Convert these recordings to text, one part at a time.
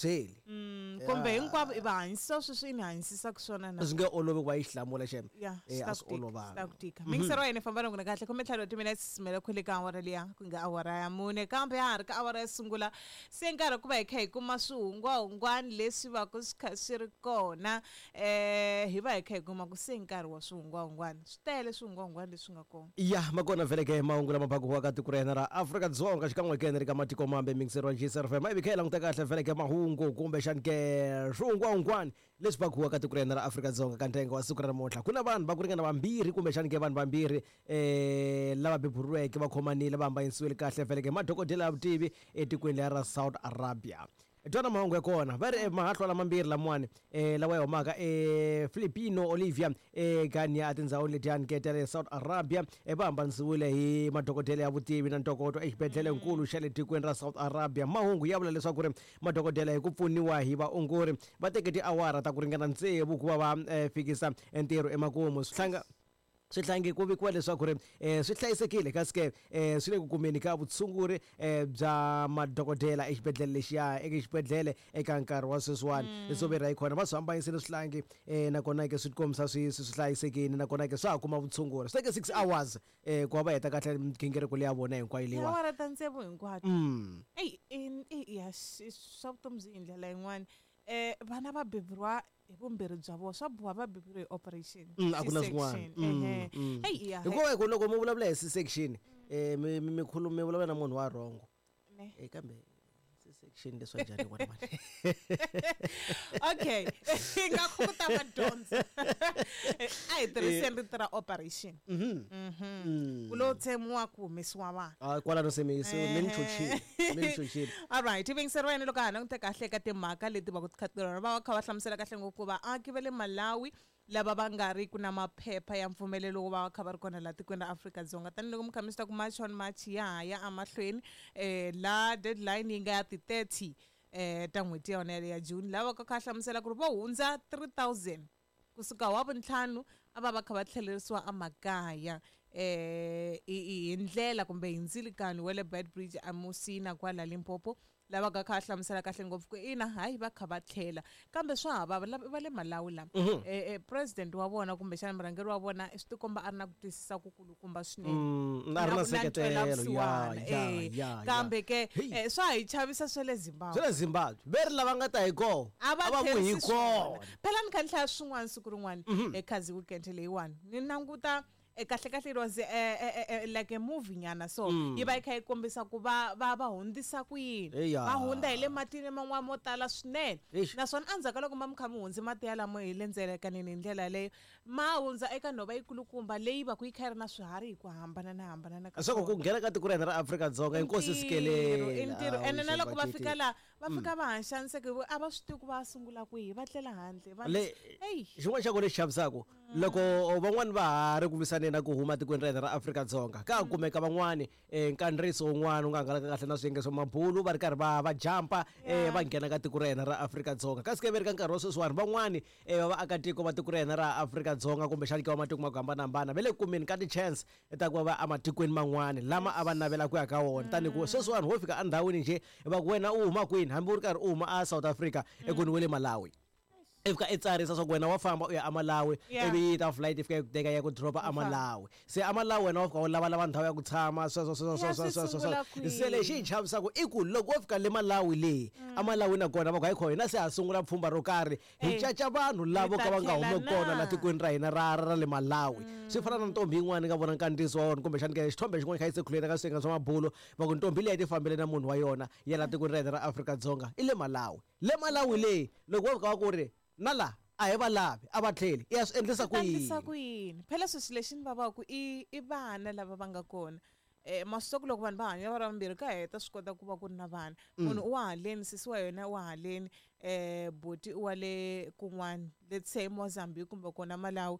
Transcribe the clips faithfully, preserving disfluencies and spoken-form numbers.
byeli kumbe hinkwavo i va hanyisa sweswi ni hanyisisaka swona na swi nge olovi ku va yi hlamula xem ya eh a swi olovanga ku tika mingisero wa yena famba na kahle khome ntlhanu wa timinetse mele khwele ka awara liya ku nga awara ya mune kambe ya ha ri ka awara yo sungula se nkarhi ku va hi kha hi kuma swihungwahungwani leswi va ku swi kha swi ri kona um hi va hi kha hi kuma ku se nkarhi wa swihungwahungwani swi tele swihungwahungwani leswi nga kona ya makona vhele ke mahungu lama bakuwaka tiko ra hina ra Afrika-Dzonga xikan'we ke ni ri ka matiko mambe mingisero wa G S R F M ivi kha hi languta kahle vhele ke mahungu kumbexani ke swihungwahungwani leswi bakuwaka tiko ra hina ra Afrika-Dzonga ka ntengo wa siku ra namuntlha ku na vanhu va ku ringana vambirhi kumbexani ke vanhu vambirhi um lava beburiweke va khomanile va hambanyisiwile kahle vhele ke madokodela ya vutivi etikweni leri ra South Arabia twana mahungu ya kona va ri mahahlwa lamambirhi lamawani um lawa ya humaka e Filipino Olivia egania etindhawini letiyani ke ta le South Arabia va hambanisiwile hi madokodela ya vutivi na ntokoto exibedhlelenkulu xa le tikweni ra South Arabia mahungu ya vula leswaku ri madokodela hi ku pfuniwa hi vaongori va teke tiawara ta ku ringana tsevu ku va va fikisa ntirho emakumu swi hlanga swihlangi ku vikiwa leswaku ri um swi hlayisekile kasi ke um swi le ku kumeni ka vutshunguri um bya madokodela exibedhlele lexiya eka xibedhlele eka nkarhi wa sweswiwani leswo verha hi kona va swi hambanyisile swihlangi um nakona ke swi tikombisa swi swi hlayisekile nakona ke swa ha kuma vutshunguri swi teke six hours um ku va va heta kahle migingiriko leyi ya vona hinkwayo leyiwa awara ta tsevu hinkwato eyi ya swa vutomi byi hi ndlela yin'wana um vana va beburiwa hi vumbirhi bya vona swa boha va beburiwe hi operation a ku na swin'wana hikuva hi ku loko mi vulavula hi C-section um mi mi khuluma mi vulavula na munhu wa rhongo e kambe C-section leswa njhani vona mani okay hi nga khukuta madyondza a hi tirhiseni rito ra operation ku lo tsemiwa ku humesiwa vanhu kwalano se mi se mi ni chochile mi ni chochile all right vingisero wena loko ha languta kahle eka timhaka leti va ku ti kha ti va va kha va hlamusela kahle ngopfu vaaki va le Malawi lava va nga ri ku na maphepha ya mpfumelelo wo va va kha va ri kona laha tikweni ra Afrika-Dzonga tanihiloko mi kha mi swi ta ku March on March ya ha ya emahlweni um la deadline yi nga ya ti-thirty um ta n'hweti ya yona yaleyo ya June lava ka kha hlamusela ku ri vo hundza three thousand kusuka wa vuntlhanu a va va kha va tlhelerisiwa emakaya um hi ndlela kumbe hi ndzilikani wa le Beitbridge eMusina kwala Limpopo lava ka kha hlamusela kahle ngopfu ku ina hayi va kha va tlhela kambe swa ha vava va le Malawi lama eh president wa vona kumbexana murhangeri wa vona swi tikomba a ri na ku twisisa ku kulukumba swinene a ri na seketelo ya ya kambe ke swa hi chavisa swa le Zimbabwe swa le Zimbabwe ve ri lava nga ta hi kona a va vuyi hi kona phela ni kha ni hlaya swin'wana siku rin'wana ekhazi weekend leyiwani ni languta kahle kahle it was like a movie nyana so yi va yi kha yi kombisa ku va va va hundzisa ku yini va hundza hi le matini man'wana mo tala swinene naswona endzhaku ka loko ma mi kha mi hundze mati yalamo hi le ndzelekaneni hi ndlela yaleyo ma hundza eka nhova yikulukumba leyi va ku yi kha yi ri na swiharhi hi ku hambana na hambana ka swa ku nghena ka tiko ra hina ra Afrika-Dzonga inkosi sikelele i ntirho ene na loko va fika laha va fika va hanxaniseke a va swi tivi ku va sungula kwihi va tlela handle va eyi xin'wana xa ku lexi chavisaka loko van'wani va ha ri ku lwisaneni na ku huma tikweni ra hina ra Afrika-Dzonga ka kumeka van'wani nkandziyiso wun'wana wu nga hangalaka kahle na swiyenge swa mabulu va ri karhi va va jampa va nghena ka tiko ra hina ra Afrika-Dzonga kasi ke ve ri ka nkarhi wa sweswiwani van'wani va vaakatiko va tiko ra hina ra Afrika-Dzonga kumbexani ke va matiko ma ku hambanahambana va le kumeni ka ti-chance ta ku va va ematikweni man'wani lama a va navela ku ya ka wona tanihi ku sweswiwani ho fika endhawini njhe va ku wena u huma kwini hambi u ri karhi u huma a South Africa ekuni we le Malawi i fika i tsarisa swa ku wena wa famba u ya eMalawi ivi yi ta flight i fika yi ku teka ya ku dropa eMalawi se eMalawi wena wa fika u lavalava ndhawu ya ku tshama sweswo sweswo sweswo sweswo sweswo se lexi hi chavisaka i ku loko wo fika le Malawi leyi eMalawi nakona va ku hayi kho hina se ha sungula pfhumba ro karhi hi caca vanhu lavo ka va nga humi kona la tikweni ra hina ra ra le Malawi swi fana na ntombi yin'wana nga vona nkandziyiso wa wona kumbexani ke xithombe xin'wana kha yi sekhuleni ka swiyenge swa mabulo va ku ntombi leyi ti fambele na munhu wa yona ya la tikweni ra hina ra Afrika-Dzonga i le Malawi le Malawi leyi loko wo fika va ku ri na la a hi va lavi a va tlheli i ya swi endlisa ku yini endlisa ku yini phela sweswi lexi ni vavaka i i vana lava va nga kona um masiku loko vanhu va hanya va ri vambirhi ka heta swi kota ku va ku ri na vana munhu u wa haleni sesi wa yena u wa haleni um buti u wa le kun'wana let's say Mozambique kumbe kona Malawi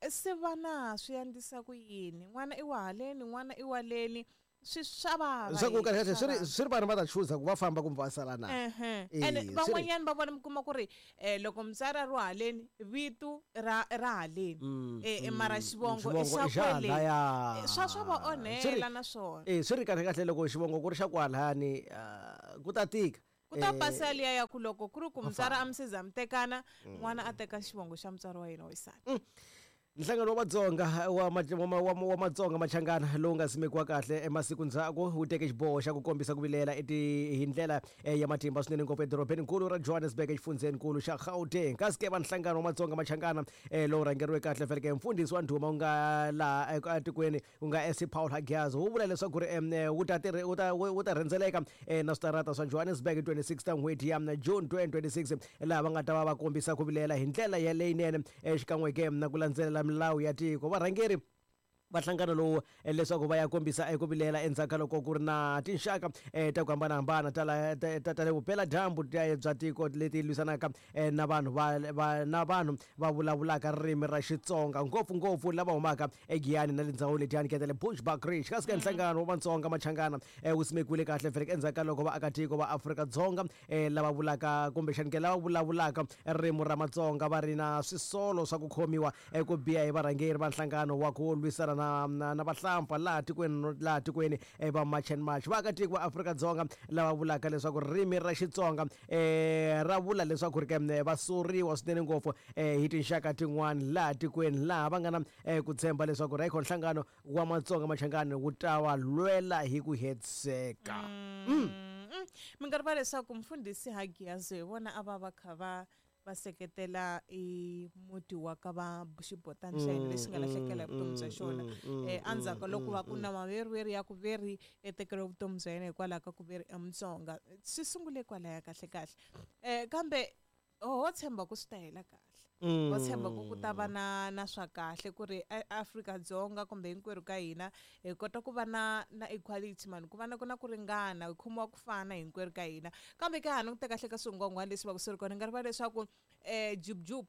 se vana swi endlisa ku yini n'wana i wa haleni n'wana i wa leni swi swa vava swa ku kahle swi ri swi ri vanhu va ta chuza ku va famba kumbe va sala na ene van'wanyana va vona mi kuma ku ri um loko mutswari a ri haleni vito ra ra haleni um mara xivongo i xa kwele swa swa va onhela na swona e swi ri kahle kahle loko xivongo ku ri xa kwalani ku ta tika Ku ta Eh, pasa liya ya ku loko ku ri ku mutswari vafana. a mi se za mi tekana, n'wana a teka xivongo xa mutswari wa yena wa xisati. Nhlangano wa Vatsonga wa ma- wa ma- wa ma- wa Matsonga Machangana lowu nga simekiwa kahle emasiku ndzhaku wu teke xiboho xa ku kombisa ku vilela eti hi ndlela eh, ya matimba swinene ngopfu edorobeni-nkulu ra Johannesburg exifundzheni-nkulu xa Gauteng. Kasi ke va nhlangano wa Matsonga Machangana eh, lowu rhangeriwe kahle feleke mfundhisi wa ndhuma wu nga laha eh, etikweni wu nga S Paul Hagiazo wu vula leswaku ri em, eh, wu ta tirhe- wu ta wu ta rhendzeleka eh, na switarata swa Johannesburg hi twenty-six ta n'hweti ya June twenty twenty-six, laha va nga ta va va kombisa ku vilela hi ndlela ya leyinene eh, xikan'we ke na ku landzelela milawu ya tiko. Varhangeri va nhlangano lowu eh, leswaku va ya kombisa eku vilela endzhaku ka loko ku ri na tinxaka eh, ta ku hambanahambana ta la- ta ta- ta le vupeladyambu ta- bya tiko leti lwisanaka eh, na vanhu va, va na vanhu va vulavulaka ririmi ra Xitsonga, ngopfungopfu lava humaka eGiyani na le ndhawu letiyani ke ta le Bushbuckridge. Kasi ka nhlangano wa Vatsonga Machangana eh, wu simekiwile kahle feleke endzhaku ka loko vaakatiko va Afrika-Dzonga eh, lava vulaka kumbexani ke lava vulavulaka ririmi ra Matsonga va ri na swisolo swa ku khomiwa eh, ku biha hi varhangeri va nhlangano wa ku lwisana na, na, na vahlampfa laha tikweni laha tikweni eh, va March and March. Vaakatiko va Afrika-Dzonga lava vulaka leswaku ririmi ra Xitsonga eh, ra vula leswaku ri ke eh, va soriwa swinene ngopfu eh, hi tinxaka tin'wani laha tikweni, laha va nga na eh, ku tshemba leswaku ri ayikho nhlangano wa Matsonga Machangani wu ta va lwela hi ku hetiseka. Mm. Mi nga rivala leswaku mfundhisi Hagiazo hi vona a va va kha va va seketela i muti wa ka va xibotani xa yena lexi nga lahlekela hi vutomi bya xona um endzhaku ka loko va ku na maveriveri ya ku veri e tekeriwe vutomi bya yena hikwalaho ka ku veri emutsonga. Swi sungule kwalaya kahle kahle, um kambe ho tshemba ku swi ta hela kahle, ho tshemba ku ku ta va na na swa kahle ku ri Afrika-Dzonga kumbe hinkwerhu ka hina hi kota ku va na na equality mani, ku va na ku na ku ringana, hi khomiwa ku fana hinkwerhu ka hina. Kambe ka ha ni ku teka kahle ka swingwangwani leswi va ku swi ri kona, ni nga rivala leswaku um Jub Jub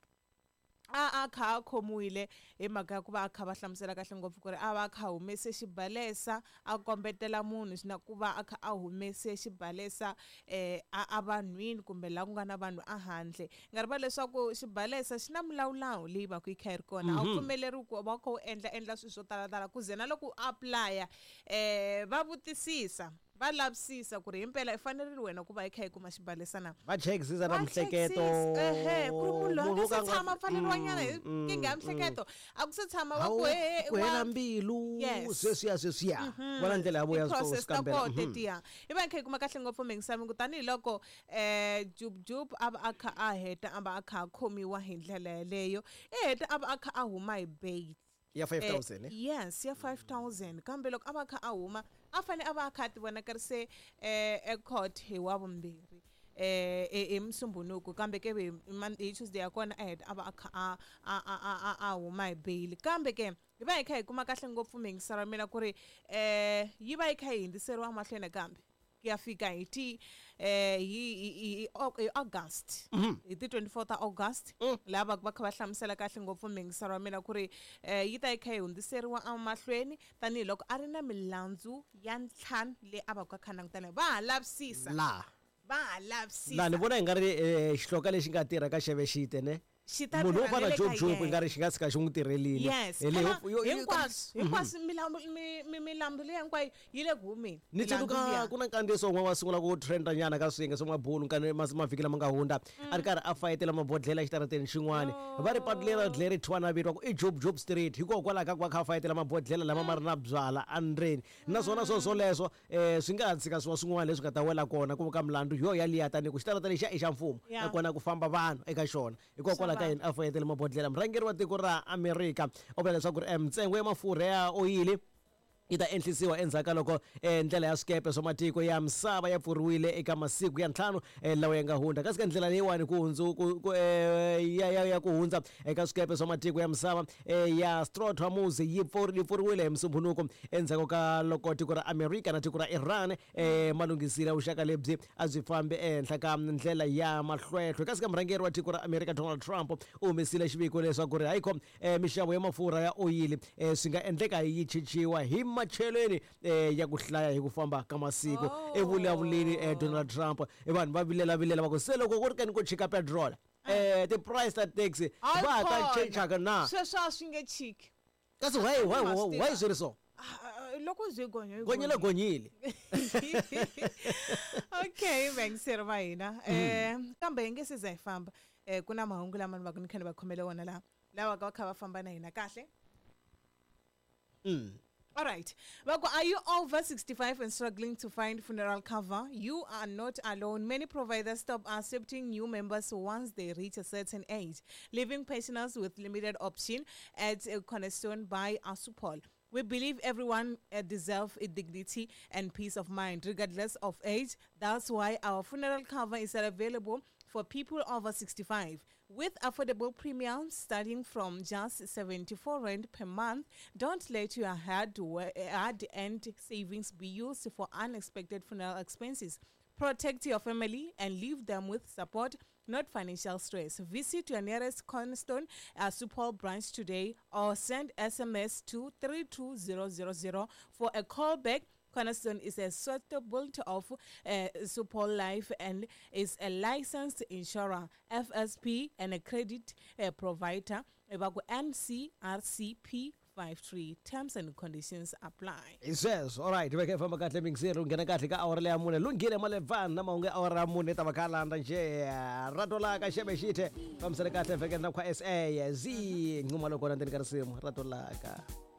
a a kha a khomiwile hi mhaka ya ku va a kha va hlamusela kahle ngopfu ku ri a va a kha a humese xibalesa a kombetela munhu na ku va a kha a humese xibalesa um a a vanhwini kumbe laha ku nga na vanhu a handle. Nga rivala leswaku xibalesa xi na milawulawu leyi va ku yi kha yi ri kona, a wu pfumeleriwi ku va u kha u endla endla swilo swo talatala ku ze na loko u apply-a um va vutisisa, va lavisisa ku ri himpela i fanerile wena ku va i kha i kuma xibalesa na. Va chekisisa na Va mihleketo. chekisisa, ehe, ku ri munhu loyi a Munhu nga wo se ka a nga- tshama pfaleriwa nyana hi Mm, nkingha ya mm, mihleketo, a ku se tshama va Hawu, ku he ku hela mbilu. Yes. Sweswiya sweswiya vona ndlela ya vo ya ti-process ta swikambela. koho tetiya i va hi kha hi kuma kahle ngopfu mingisami, tanihiloko um Jub Jub a va a kha a heta a va a kha a khomiwa hi ndlela yeleyo, i heta a va a kha a huma hi bail ya Eh, five thousand, eh? Yes, ya five thousand. Kambe loko a va a kha a huma a fane a va a kha a ti vonakarise um ecourt hi wa vumbirhi eh hi Musumbunuku, kambe ke hi Mon- hi Tuesday ya kona a heta a va a kha a a a a a a huma hi bail. Kambe ke hi va hi kha hi kuma kahle ngopfu mingiselo wa mina ku ri eh yi va yi kha yi hundziseriwa mahlweni kambe ku ya fika hi ti eh hi hi hi hi August, hi ti twenty-four ta August, laha va va kha va hlamusela kahle ngopfu mingiselo wa mina ku ri eh yi ta yi kha yi hundziseriwa emahlweni tanihiloko a ri na milandzu ya ntlhanu leyi a va ku a kha langutana, va ha lavisisa. Laha Va ha lavisisa. Laha ni vona hi nga ri eh, xihloka lexi nga tirha ka xeve xite ne Xi ta munhu wo tirha fana na le Job ka Job yena. i nga ri xi nga tshika xi n'wi tirhelile. Yes. Hi leyi Phela, yo- yo- yo- hinkwaswo hinkwaswo milambu mi- mi- milambu leyi hinkwayo yi le ku humeni. Ni Milandzu tsundzuka liya. ku na nkandziyiso wun'we wa sungula ku trenda nyana ka swiyenge swa mabulu nkani mas- mavhiki lama nga hundza, a ri karhi a fayetela mabodhlela exitarateni xin'wani. Va ri patu leri leri thwana vito ku i Job Job Street hikokwalaho ka ku va kha a fayetela mabodhlela lama ma ri na byala endzeni. Naswona swo swoleswo um swi nga ha tshika swiwa swin'wana leswi nga ta wela kona ku ka milandzu yo yaliya, tani ku xitarata lexiya i xa mfumo, Yeah. nakona ku famba vanhu eka xona, hikokwalaho ka yini a fayetele mabodhlela. Murhangeri wa tiko ra Amerika u vula leswaku ri eh, ntsengo ya mafurha ya oyili yi ta enhlisiwa endzhaku ka loko eh, ndlela ya swikepe swa matiko ya misava ya pfuriwile eka masiku ya ntlhanu eh, lawa ya nga hundza. Kasi ka ndlela leyiwani ku hundzu ku, ku, eh, ya, ya, ya ku hundza eka swikepe swa matiko ya misava eh, ya Strait Hormuz yi pfuri- yi pfuriwile hi Musumbunuku endzhaku ka loko tiko ra Amerika na tiko ra Iran eh, malunghisile vuxaka lebyi a byi fambi ehenhla ka ndlela ya mahlwehlwe. Kasi ka murhangeri wa tiko ra Amerika Donald Trump u humesile xiviko leswaku ri hayikho eh, mixavo ya mafurha ya oyili eh, swi nga endleka yi chichiwa hi macheleni eh, ya ku hlaya hi ku famba ka masiku. Oh. Evulavuleni eh, Donald Trump, eh, vanhu va vilela vilela va ku se loko ku ri kani ku chika petrol, eh, ti-price ta taxi Hayi va ha ta khona. chichaka na? Sweswo a swi nge chiki. Kasi why why Ma swi why tiva. swi ri so? Ah, Loko byi gonya yi Gonyile gonyile. Okay, vayingiseri va hina, um kambe hi nge se za hi famba, um ku na mahungu lama ni va ku ni kha ni va khomele wona laha lawa ka va kha va famba na hina kahle. Mm. All right. Vako, are you over sixty-five and struggling to find funeral cover? You are not alone. Many providers stop accepting new members once they reach a certain age, leaving pensioners with limited option. At uh, Cornerstone by Assupol, we believe everyone uh, deserves a dignity and peace of mind, regardless of age. That's why our funeral cover is available for people over sixty-five. With affordable premiums starting from just seventy-four rand per month, don't let your hard, hard earned savings be used for unexpected funeral expenses. Protect your family and leave them with support, not financial stress. Visit your nearest Cornerstone Assupol branch today or send S M S to three two zero zero zero for a call back. Cornerstone is a suitable of uh, Supol Life and is a licensed insurer, F S P, and a credit uh, provider. Ebaku N C R C P fifty-three. Terms and conditions apply. Hi sweswo. Alright, veke famba kahle mingiseri, u nghena kahle ka awara leya mune. Lunghile Malevani na mahungu ya awara ya mune ta va kha landza nje ratolaka xebe xithe fambisele kahle vhekeni na kwa sa z nquma loko na ndzeni ka risimu ratolaka.